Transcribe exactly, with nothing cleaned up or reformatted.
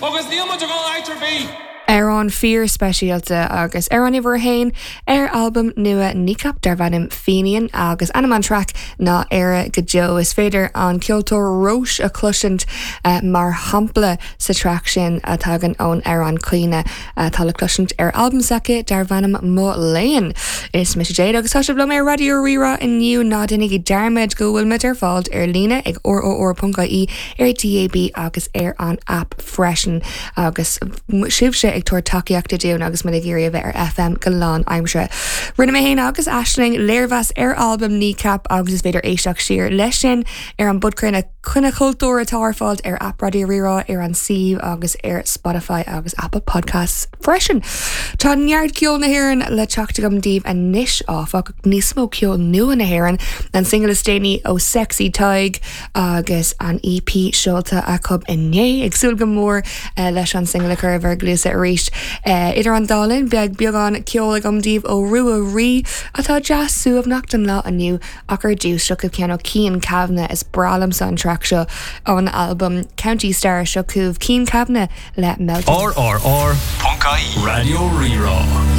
Agus níl muid ag dul áit ar bith. Amhrán fíorspeisialta agus amhrán uimhir a haon ar albam nua Kneecap darb ainm Fenian agus ainm an traic ná Éire go deo is féidir an ceoltóir Róis a chloisint uh, mar shampla sa traic sin a tagann ón amhrán Caoineadh atá le cloisint ar albam s'aici darb ainm Mo Léan. Is mise Jade agus tá sibh liom ar Raidió Rí-Rá inniu ná déanaigí dearmad go bhfuil muid ar fáil ar líne ag rrr.ie ar DAB agus ar an app freisin agus sibhse ag tabhairt tacaíochta dúinn agus muid ag iarraidh a bheith ar FM go lánaimseartha. Rinne mé féin agus Aisling léirmheas ar albam Kneecap agus is féidir éisteacht siar leis sin ar an bpodchraoladh Coinne Cultúr atá ar fáil ar app Raidió Rí-Rá ar an suíomh agus ar Spotify agus Apple Podcasts freisin. Tá neart ceol na hÉireann le teacht agam daoibh anois áfach níos mó ceol nua na hÉireann an single is déanaí ó Sexy Tadhg agus an EP seolta acu inné ag súil go mór uh, leis an single a chur bhur gcluasa arís. Uh, idir an dá linn beidh beagán ceol agam daoibh ó Rua Rí atá deas suaimhneach don lá inniu ach ar dtús seo ceann ó Cian Kavanagh is breá liomsa an traic seo ón album County Star seo chugaibh Cian Kavanagh le Melting. RRR.ie Raidió Rí-Rá.